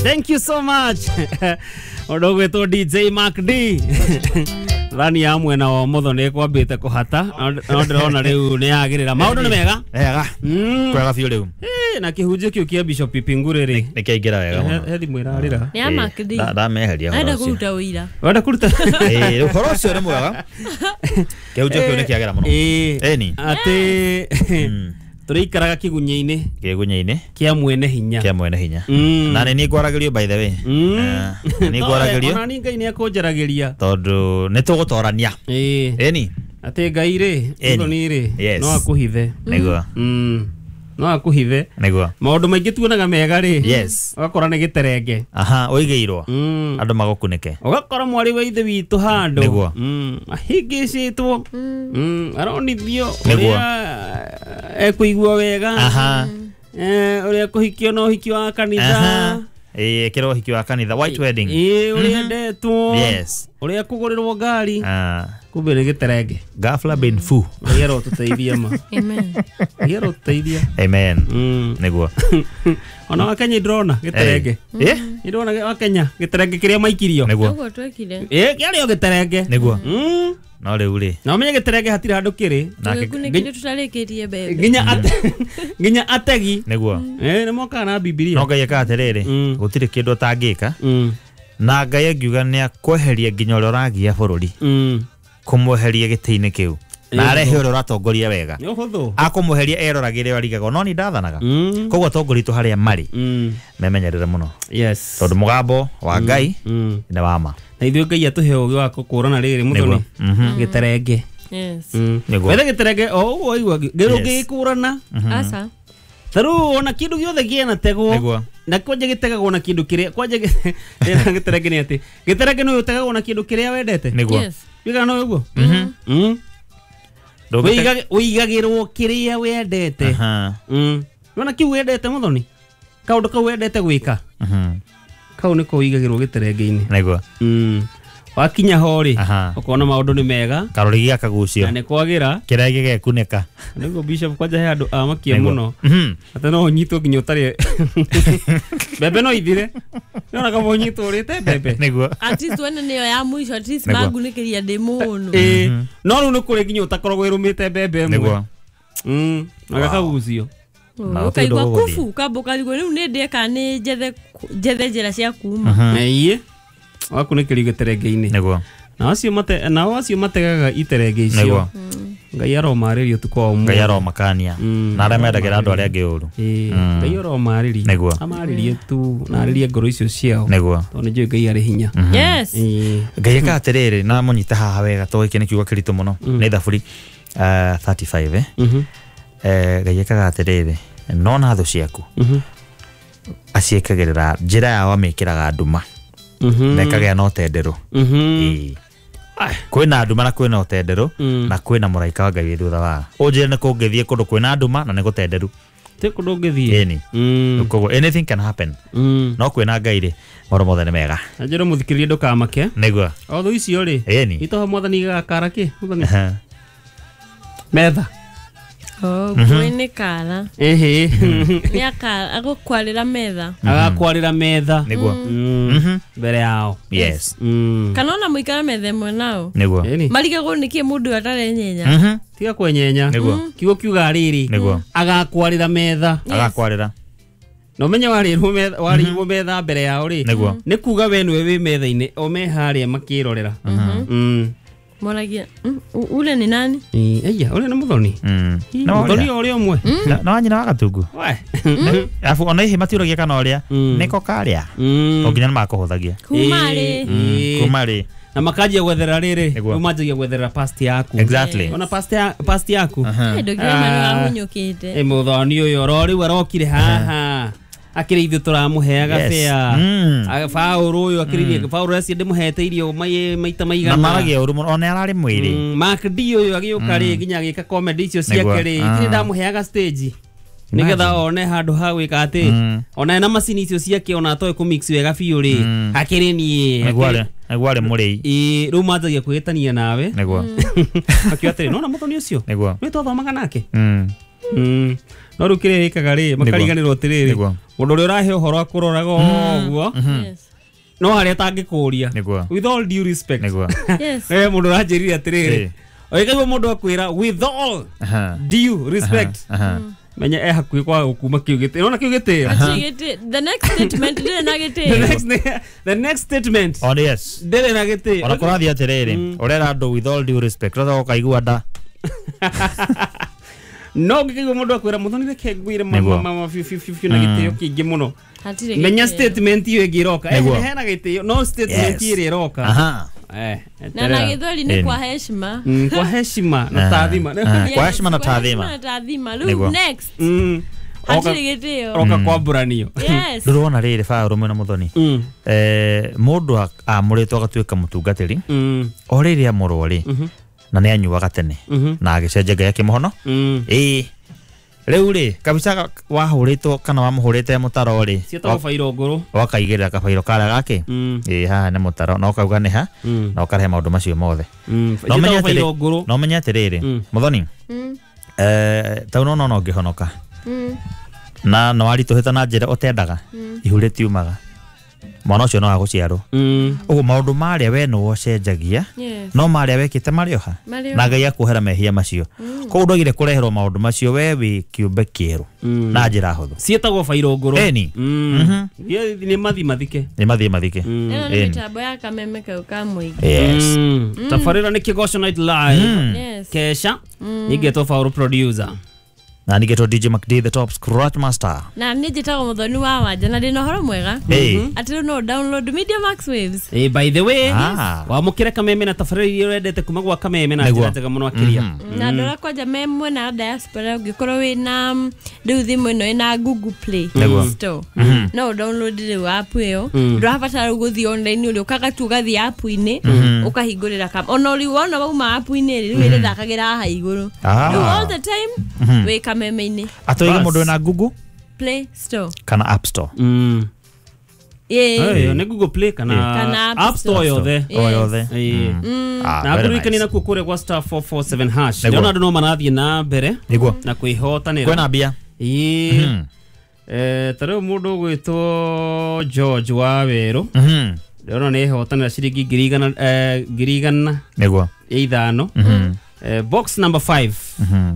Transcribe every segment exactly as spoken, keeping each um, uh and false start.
Thank you so much. Odogwetwo D J Mark D. Thani ya mwena wa motho nĩ kwambĩte kũhata no ndĩrona rĩu nĩ yagĩrĩra maũndũ nĩ mega wega kwega biũ rĩu. Eh, na kĩhunjio kĩu kĩa Bishop Pingure rĩ nĩ kĩaingĩra wega mũno. He thimũ ĩrarĩra nĩ ya Mark D. Ndameheria ũhoro ũcio. Enda kũruta ũira. Wenda kũruta eh ũhoro ũcio nĩ mwega. Kĩhunjio kĩu nĩ kĩagĩra mũno. Ĩni atĩ tũrĩikaraga kĩgunyĩ-inĩ kĩgunyĩ-inĩ kĩa mwene hinya kĩa mwene hinya na nĩ niĩ ngwaragĩrio by the way nĩ ngwaragĩrio ona ni Ngai nĩ akũnjaragĩria tondũ nĩ tũgũtorania. Ĩni atĩ Ngai rĩ Muthoni rĩ no akũhithe nĩguo no akũhithe nĩguo maũndũ maingĩ tuonaga mega rĩ yes ũgakora nĩ gĩterenge aha ũigĩirwo andũ magũkunĩke ũgakora mwarĩ wa ithe witũ handũ nĩguo ahĩngĩcĩtwo aronithio ũrĩa ekũigua wega aha ũrĩa kũhikio na ũhiki wa kanitha ĩĩ ĩkĩrwo ũhiki wa kanitha white wedding ĩĩ ũrĩa endetwo yes ũrĩa kũgũrĩrwo ngari kumbe nĩ gĩterenge ghafla bin fu. Ngai arotũteithia ma. Amen. Ngai arotũteithia. Amen. Nĩguo ona wa Kenya ndĩrona gĩterenge ĩ ndĩrona wa Kenya gĩterenge kĩrĩa maikirio nĩguo ũguo twekire ĩ kĩarĩ o gĩterenge nĩguo no rĩu rĩ na ũmenye gĩterenge hatirĩ handũ kĩrĩ tũgĩkunĩkire tũtarĩkĩrie mbembe nginya nginya ategi nĩguo ĩ nĩ mokaga na Bibilia no Ngai ekaga atĩrĩrĩ gũtirĩ kĩndũ atangĩka na Ngai angiuga nĩ akweheria nginya ũrĩa ũragia bũrũri kũmweheria gĩtĩ-inĩ kĩu na arehe ũrĩa ũratongoria wega nĩ ũhũthũ akũmweheria eroragĩre arigagwo no ni ndathanaga koguo atongoria itũ harĩa marĩ memenyerere mũno yes tondũ mũgambo wa Ngai nĩ wa ma na ithuĩ Ngai atũhe ũgĩ wa gũkũrana rĩrĩ Muthoni gĩterenge yes wethe gĩterenge o ũguo waigua gĩkũrana aca tarĩu ona kĩndũ gĩothe kĩna tegwo na kwanja gĩtegagwo na kĩndũ kĩrĩa kwanja gĩterenge nĩ atĩ gĩterenge nĩ ũtegagwo na kĩndũ kĩrĩa wendete nĩguo wĩkaga no ũguo ũigagĩrwo kĩrĩa wendete nĩwona kĩu wendete Muthoni kaũndũ kau wendete gwĩka kau nĩko ũigagĩrwo gĩterenge-inĩ nĩguo wakinya ho rĩ ũkona maũndũ nĩ mega karũrigi gakagucio na nĩ kwagĩra kĩrĩa gĩgekunĩka nĩguo Bishop kwanja he andũ amakia mũno atĩ no ũnyitwo nginya ũtarĩ mbembe no ithire nĩwona kama ũnyitwo ũrĩte mbembe nĩguo at least wene nĩyo ya mũico at least mangunĩkĩria ndĩ mũhũnu ĩĩ no rĩu nĩ kũrĩ nginya ũtakoragwo ĩrũmĩte mbembe ĩmwe na gakagucio ũkaigua kubu ũkamba ũkarigwo rĩu nĩ ndĩe kana nĩ njethe njethe njĩra cia kuma ĩĩ wakunĩkĩrio gĩterenge-inĩ nĩguo na acio mate nao acio mategaga iterenge icio nĩguo Ngai aromarĩria ũtukũ wa ũmũthĩ Ngai aromakania na arĩa mendagĩra andũ arĩa angĩ ũru ĩĩ Ngai aromarĩria nĩguo amarĩrie tu na arĩrie ngoro icio ciao nĩguo tondũ nĩnjũĩ Ngai arĩ hinya yes Ngai ekaga atĩrĩrĩ na mũnyite haha wega tondũ gĩkĩ nĩ kiugo kĩritũ mũno nĩ thaburi thirty five eh Ngai ekaga atĩrĩrĩ nona thũ ciaku aciĩkagĩrĩra njĩra yao amĩkĩraga nduma na ĩkagĩa na ũtenderũ kwĩna nduma na kwĩna ũtenderũ na kwĩna mũraika wa Ngai wĩ thutha wa ũnjĩre nĩ kũngĩthiĩ kũndũ kwĩna nduma na nĩ gũtenderu ti kũndũ ũngĩthiĩ ĩni koguo anything can happen no kwĩna Ngai rĩ maũndũ mothe nĩ mega na njĩra mũthikĩrĩria ndũkamake nĩguo o thũ icio rĩ ĩni itoha mwathani gagakara kĩ Muthoni metha Oh, ngũĩ nĩ kara ĩhĩ nĩ akara agũkwarĩra metha agakwarĩra metha nĩguo mbere yao yes kana ona mũikara metha ĩmwe nao nĩguo marigagwo nĩkĩ mũndũ ũyũ atarenyenya tiga kwenyenya nĩguo kiugo kiuga rĩrĩ nĩguo agakwarĩra metha agakwarĩra na ũmenye warĩrwo metha warĩirwo metha mbere yao rĩ nĩguo nĩ kuga we nĩwe wĩ metha-inĩ o me harĩa makĩrorera moragia ule ni nani ĩya ũrĩa nĩ Muthoni Muthoni o ũrĩa ũmwe na wa nyina wa Gatungu arabu ona hihi matiũragia kana ũrĩa nĩko karĩa to nginya nĩ makũhũthagia kuma rĩ kuma rĩ na makanjia gwetherera rĩrĩ rĩu manjagia gwetherera past yaku exactly ona past ya past yaku ndũngĩona nĩ wahunyũkĩte ĩ Muthoni ũyũ oro rĩu arokire haha akĩrĩ ithuĩ tũramũheaga bea Paũlũ ũyũ akĩrĩ Paũlũ acio ndĩmũhete irio maita maigana na maragia ũru mũno ona ararĩ mwĩrĩ Mark D ũyũ agĩũka rĩ nginya agĩka comedy icio ciake rĩ itirĩ ndamũheaga stage nĩgetha one handũ ha gwĩka atĩ ona ena macini icio ciake ona atoĩ kũmix wega biũ rĩ akĩrĩ niĩ nĩguo arĩ mũrĩi ĩĩ rĩu manjagia kwĩhĩtania nawe nĩguo akiuga atĩrĩ nona Muthoni ũcio nĩguo nĩ twathomaga nake Mm. No rĩu kĩrĩa gĩkaga rĩ makariganĩrwo atĩrĩrĩ Nĩguo. mũndũ ũrĩa ũrahe ũhoro akũroraga ũguo Yes. no harĩa atangĩkũria Nĩguo. with all due respect. Nĩguo. Yes. Eh mũndũ ũranjĩrire atĩrĩrĩ Ĩ. ũgĩkaigua mũndũ akwĩra with all Aha. due respect Aha. menya e hakuhĩ kwaga gũkuma kĩu gĩtĩo ũrona kĩu gĩtĩo. Hatirĩ gĩtĩ- the next statement ndĩrĩ na the gĩtĩo. next the next statement Oh, yes. ndĩrĩ na gĩtĩo. Ona kũrathiĩ atĩrĩrĩ ũrera andũ with all due respect ũracoka ũkaigua nda. No ngĩkaigua mũndũ akwĩra mũthoni reke ngwĩre mama Nĩguo. mama biũ biũ biũ biũ na gĩtĩo kĩingĩ mũno Hatirĩ menya gĩtĩo. statement ĩyo ĩngĩ ĩroka. Eh, Nĩguo. hena gĩtĩo no statement Yes. ĩrĩa ĩroka. Aha. Eh, Na na eterera. gĩthweri nĩ Ĩni. kwa heshima. Mm, kwa heshima na Ah, taadhima. ah. Yes, Kwa heshima na kwa taadhima. heshima na taadhima. Nĩguo. Rĩu next Mm. Oka hatirĩ gĩtĩo. oka kwambũranio. Yes. Ndũrona rĩrĩ baũrũ mwena mũthoni Mm. eh, mũndũ amũrĩtwo agatuĩka mũtungatĩri Mm. o rĩrĩ amũrwo rĩ na nĩ anyuaga tene Mhm. na agĩcenjia Ngai akĩmũhono Mm. ĩĩ rĩu rĩ kabica wahũrĩtwo kana wamũhũrĩte mũtaro rĩ Ciĩtagwo bairo ngũrũ. wakaigĩrĩra kabairo karĩa gake Mm. ĩĩ haha nĩ mũtaro na ũkauga nĩ ha Mm. na ũkarehe maũndũ macio mothe. Mm. Na ũmenye Ciĩtagwo atĩrĩ- bairo ngũrũ. na ũmenye atĩrĩrĩ Mm. mũthoni Mm. eh, ta ũnona ona ũngĩhonoka Mm. na no waritũhĩte na njĩra ũtendaga ihu rĩtiumaga mwana ũcio no agũciarwo Mm. ũguo maũndũ marĩa we nĩwe ũcenjagia Yes. no marĩa wekĩte marĩ oha Marĩ na Ngai akuohera mehia macio koguo ndwagire kũreherwo maũndũ macio we wĩ kĩũmbe kĩerũ Mm. na njĩra hũthũ. Ciĩtagwo bairo ngũrũ. Ĩni. Mm. Ye- nĩ mathi mathike. Nĩ mathiĩ mathike. Mm. Ĩno nĩ Ĩni. mĩtambo ya kameme kau ka mũingĩ. Yes. Mm. Tabarĩra nĩ Kĩgoco Night Live. Yes. Kesha ningĩtwo Faũrũ producer. Na ningĩtwo D J McD the top scratch master. Na niĩ njĩtagwo mũthoni wa wanja na ndĩna ũhoro mwega Ĩĩ. atĩ rĩu no download Media Max Waves. Eh, by the way Ah. wamũkĩre kameme na tabarĩra iria ũrendete kuma gwa kameme na Nĩguo. njĩra njega mũno akĩria. Na andũ arĩa kwanja me mwena wa diaspora ũngĩkorwo wĩna mm, rĩu thimũ ĩno ĩna Google Play Nĩguo. Store no download rĩu app ĩyo ndũrabatara rĩu gũthiĩ online ũrĩa ũkaga tu ũgathiĩ app-inĩ ũkahingũrĩra kam ona rĩu wona wauma app-inĩ rĩ, rĩu ĩrĩthakagĩra haha igũrũ Ah. rĩu all the time wĩ kameme-inĩ. Atũige Bas. mũndũ wĩna Google Play Store. kana App Store. Mm. Ĩĩ. Ĩyo nĩ Google Play kana Kana App App Store yothe. O yothe. Ĩĩ. Ah, Na very ngũririkanie nice. nakuo kũrĩa gwa star four four seven hash. Nĩguo. Ndĩrona andũ no marathiĩ na mbere Nĩguo. na kwĩhotanĩra. Kwĩna mbia. Ĩĩ. Mhm. Eh, ta rĩu mũndũ ũgwĩtwo George wa Werũ Mhm. ndĩrona nĩ ehotanĩra ciringi ngiri igana eh, ngiri igana Nĩguo. ya ithano. Eh, box number five.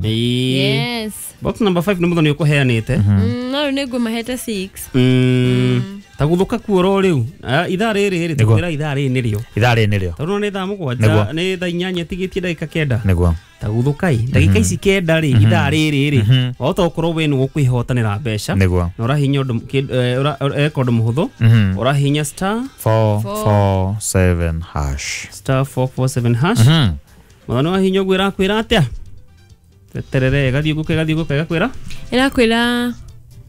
Ĩĩ. Yes. Box number five nĩ mũthoni ũkũheanĩte. Mm, no rĩu nĩ ngũmahete six. Mm. Ta gũthũka kuoro rĩu Ah, ithaa rĩrĩ rĩ Nĩguo. tũkwĩra ithaa rĩrĩ nĩrĩo Ithaa rĩrĩ nĩrĩo. tondũ nĩ thaa Nĩguo. mũgwanja nĩ thaa inyanya ĩtigĩtie ndagĩka kenda Nĩguo. ta gũthũkai ndagĩka ici kenda rĩ ithaa rĩrĩ rĩ wahota gũkorwo we nĩ ũkwĩhotanĩra mbeca Nĩguo. na ũrahihinya ũndũ kĩ- eh, ũra- ũra- eka ũndũ mũhũthũ Mhm. ũrahihinya star Four, four, seven hash. star four four seven hash Mhm. mũthoni wahihinya ũguo ĩrakwĩra atĩa weterere ĩgathiũngũka ĩgathiũngũka ĩgakwĩra Ĩrakwĩra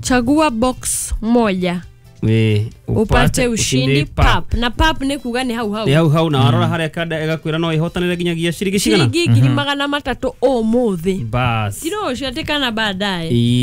chagua box moja Ĩĩ, upate ushindi pap na pap nĩ kuga nĩ hau hau nĩ hau hau na warora harĩa kanda ĩgakwĩra no ĩhotanĩre nginyagia ciringi cigana ciringi ngiri magana matatũ ũmũthĩ bas ti rũciũ atĩ kana baadaye Ĩĩ.